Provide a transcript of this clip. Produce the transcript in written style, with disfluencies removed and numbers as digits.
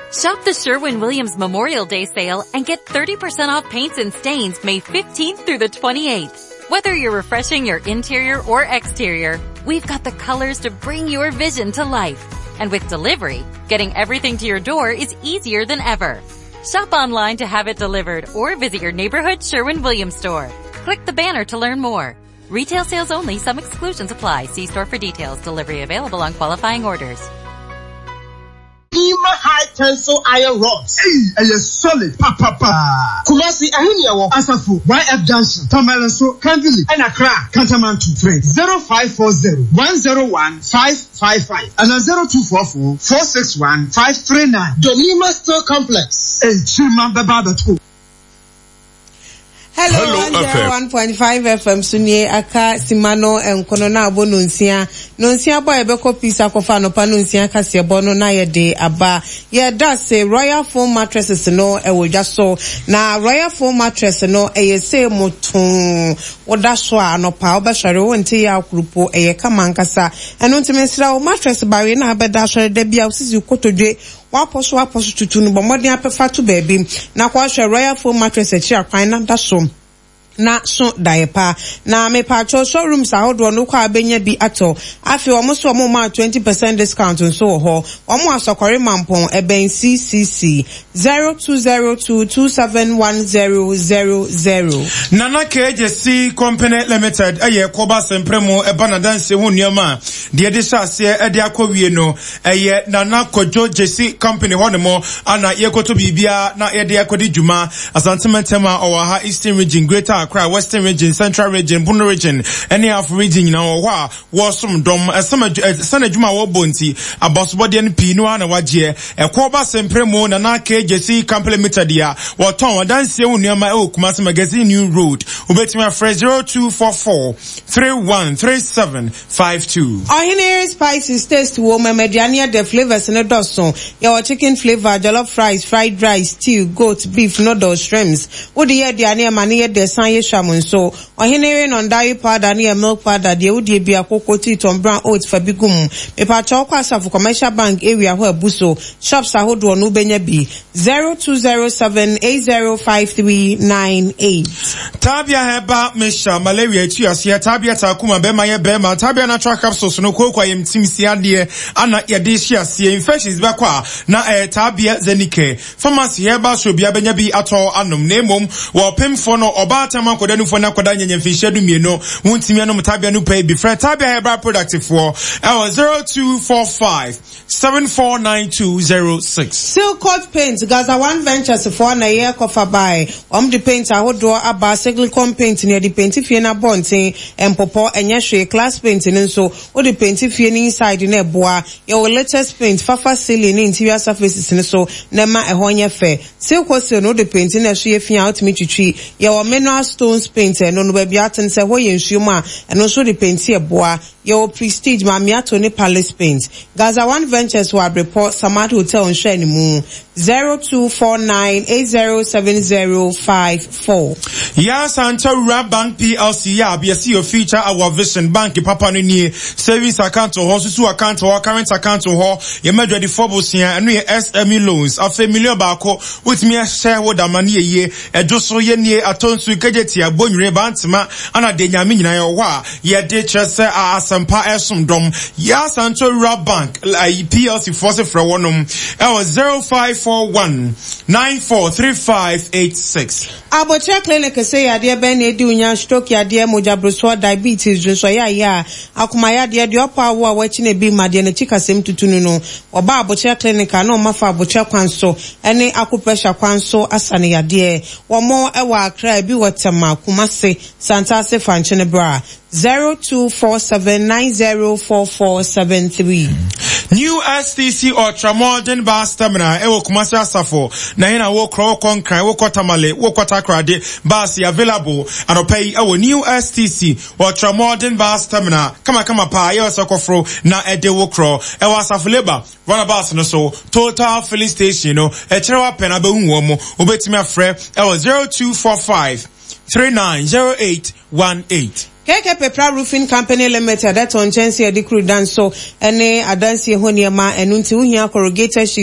Shop the Sherwin-Williams Memorial Day sale and get 30% off paints and stains May 15th through the 28th. Whether you're refreshing your interior or exterior, we've got the colors to bring your vision to life. And with delivery, getting everything to your door is easier than ever. Shop online to have it delivered or visit your neighborhood Sherwin-Williams store. Click the banner to learn more. Retail sales only, some exclusions apply. See store for details. Delivery available on qualifying orders. Ima high tensile iron rods. Ei ɛyɛ solid papapaa. Kumasi ɛhe ne ɛwɔ? Asafo YF junction, Tamale nso, Kanvili ɛna Accra, Kantamanto. Frɛ 0540 101 555 anaa 0244 461 539. Donima Steel Complex. Nkyirimma bɛba abɛto. Hello 101.5 FM so nie aka sima no nkono na abɔ nonsia. Nonsia bɔ a yɛbɛkɔ peace akɔfa anɔpa nonsia kaseɛbɔ no na yɛde aba. Yɛda se Royal Foam mattresses no ɛwɔ dwa so. Na Royal Foam mattress no ɛyɛ sei motoo. Woda so a anɔpa wobɛsɔre wonte yaw koro po ɛyɛ kama ankasa. Ɛno nti mesrɛ wo mattress bawee na abɛda asɔre da bi a wosisi kotodwe Woapɔ so apɔ so tutu no, bɔ mmɔden apɛ fa to baabi na kɔhwɛ Royal Foam Mattress akyiri akwan na da so na so daeɛ pa. Na mepaakyɛw showrooms ahodoɔ no wokɔ a wobɛnya bi atɔ. Afei wɔn nso wɔn maa 20% discount nso wɔ hɔ. Wɔn wɔ Asɔkɔre Mampɔn, ɛbɛn CCC. 0202 271000. Nana KJC Company Limited yɛ kɔba asɛmprɛ mu ɛba n'adansie ho nneɛma a deɛ ɛde hyɛ aseɛ de akɔ wie no Ɛyɛ Nana Kwadwo Gyesi Company hɔ nom ana yɛkɔtɔ biribiara na yɛde akɔdi dwuma. Asante mantam a ɔwɔ ha, Eastern Region, Greater Accra, Western Region, Central Region, Bono Region ne Afo Region nyinaa wɔ hɔ a wɔresom dɔm. Ɛsane adwuma a wɔbɔ nti, abasobɔdeɛ no pii no ara na wɔagyeɛ. Ɛkɔɔ ba Sempere mu Nana K. Gyesi Company Limited a wɔtɔn adansie ho nneɛma wɔ Kumasi Magazine New Road. Wobɛtumi afrɛ 0244 3137 52. Ɔhene yere spices taste wom ɛma aduane yɛ dɛ flavours no dɔso yɛwɔ chicken flavour, jollof rice, fried rice, stew, goat, beef, noodles, shrimps wode yɛ aduane ɛma no yɛ dɛ san yɛ hwam nso Ɔhene yere nɔndari powder no yɛ milk powder deɛ wodie bia koko tea tɔn brown oats fa bi gu mu mepakyɛw kɔ asafo commercial bank area hɔ abu so shops ahodoɔ no wobɛnya bi 0207 805398. Tabia Herbal Mixture, Malaria etu aseɛ, Tabia Taakuma, bɛrima yɛ bɛrima, Tabia Natural Capsules no, kooko ayamtim si adeɛ ana yɛde hye aseɛ, infections bɛkɔ a na ɛyɛ Tabia Zenicare. Pharmacy herbal shop biara bɛnya bi atɔ anom, na mmom wɔ ɔpemfoɔ no, ɔbaatan mu akwadaa nufoɔ ne akwadaa nyanya mfinhyia dumienu, wontumi anom Tabia no pɛi bi. Frɛ Tabia Herbal Product foɔ ɛwɔ 0245 749206. Silcoat Paint, Gaza One Ventures foɔ na ɛyɛ kɔfa bae. Wɔn de paint ahodoɔ aba, Siglicon paint no yɛde painti fie no abɔnten, ɛmpopɔ, ɛnyɛ hwee, Class paint no nso, wode painti fie no inside no ɛboa. Yɛwɔ latest paint, fafa ceiling ne interior surfaces no so na ɛma ɛhɔ nyɛ fɛ. Silcosil no wode painti na ɛso yɛ fi a wotumi twitwi. Yɛwɔ mineral stones paint, ɛno no baabi a ate no sɛ ɛhɔ yɛ nsuo mu a, ɛno nso wode painti ɛboa. Yɛwɔ Prestige, Mamiato ne Palace Paint. Gaza One Ventures wɔ Abrepɔ, Samad Hotel nhwɛanimu. 0249807054. Yaa Sankyɛ Wura Bank PLC Yab yɛse your future our vision Bank papa no nie Savings account wɔ hɔ Susu account wɔ hɔ Current account wɔ hɔ Yɛma adwadifoɔ bosea Ɛno yɛ SME loans Afei million baako wotumi ahyɛ wo da ma no yɛ yie Ɛdwo so yɛ nie Atɔ nsu Kegyetia Bonwire Bantema Ana deɛ Nyame nyinaa yɛwɔ hɔ a Yɛde kyerɛ sɛ a asɛmpa ɛsom dɔm. Yɛ Asante Rural Bank PLC foɔ se frɛ wɔnom ɛwɔ 0541 943586. Abokyerɛ Clinic se yadeɛ bɛn na edi wo nya, stroke yadeɛ, mogya brosoɔ, diabetes, dwonsɔ yaayaa, akoma yadeɛ, deɛ ɔpɔ awoɔ a wakyi na ebi mma, deɛ n'akyi kasɛm tutu no no, wɔba Abokyerɛ Clinic a na wɔn afa abokyerɛ kwan so ne acupressure kwan so asa no yadeɛ. Wɔn wɔ Accra, ebi wɔ Tema, Kumasi, Santase fa nkyene bra 0247904473. New STC Ultra Modern Bus Terminal ɛwɔ Kumasi Asafo na yɛn na wokɔ wokɔ Nkran wokɔ Tamale wokɔ Takoradi bus yɛ available anɔpa yi ɛwɔ New STC Ultra Modern Bus Terminal kamakama paa yɛ ɔsɛ kɔforo na ɛde wo korɔ ɛwɔ Asafo Labour Runabout no so Total Filling Station no ɛkyerɛ wapɛn abɛhu wɔn mo wobɛtumi afrɛ ɛwɔ 0245 390818. KK Pepra Roofing Company Limited tɔn nkyɛnsee a yɛde kuru dan so ne adansie ho nneɛma, ɛno nti wohia corrugated sheet.